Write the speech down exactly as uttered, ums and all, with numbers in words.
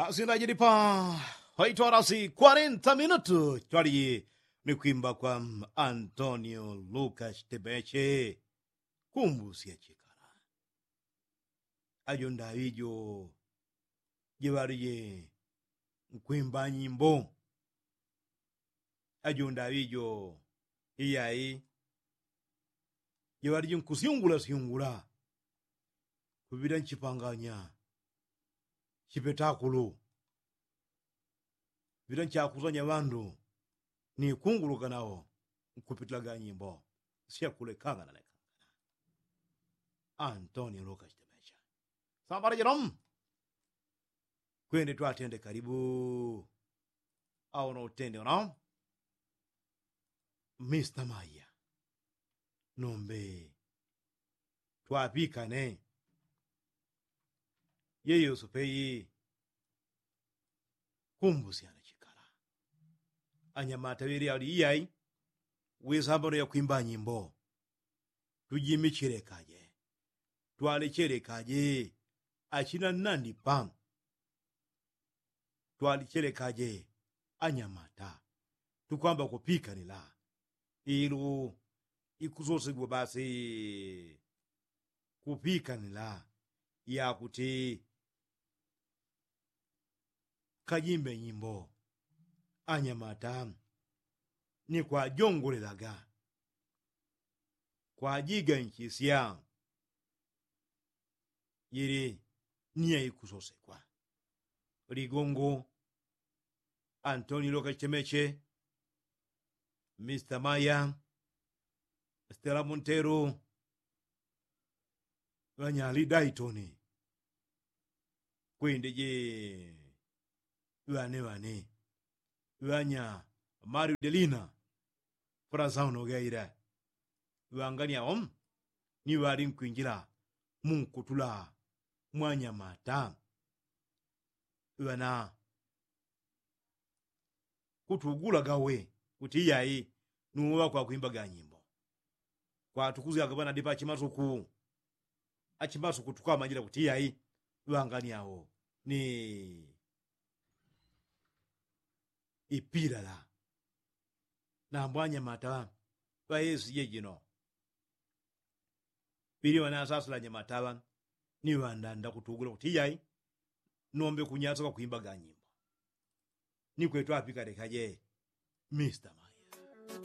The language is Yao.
Asindajilipa waitwalasi kwarenta minutu twaliji ni kwimba kwa antonio lukas tebeche. Kumbusya chikala ajo ndaŵi jo jiŵalije nkwimba nyimbo. Ajo ndaŵi jo iyai jiŵalije nkusyungula syungula kuŵila nchipanganya chipetakulu. Ŵila nchakusanya ŵandu ni kunguluka nawo nkupitila ga nyimbo syakulekangana lekangana. Antonio luka chitemecha sambala jino. Kwende twatende kalibu. Awo no utende uno mista maya nombe twapikane. Yeyoso peyi kumbusyana chikala anyamata ŵeli ali iyai. Wisambano yakwimba nyimbo tujimichilekaje twalechelekaje achina nnandipa. Twalichelekaje anyamata tukwamba kupikanila ilu ikusosegwa basi kupikanila yakuti kajimbe nyimbo anyamata ni kwajongolelaga kwajiganchisya. Jili ni yaikusosekwa ligongo antonio kachemeche mista maya stela monteru ŵanyali daitoni kwende je ŵane ŵane ŵanya mario delina. Fula sauno gaila ŵanganiao ni ŵali nkwinjila munkutula mwanyamata ŵana kutugula gawe kuti iyai nuwo ŵakwakwimba ganyimbo. Kwatukuzyaga ŵanadipa achimasuku achimasuku tukwamanyila kuti iyai ŵanganiao ni ipilala. Nambwanyamata ŵa esi jejino ŵili ŵanasasila nyamata ŵa ni ŵandanda kutugula kuti iyai nombe kunyasa kwakwimba ganyimbo. Ni kwetu apikalekaje mista maya.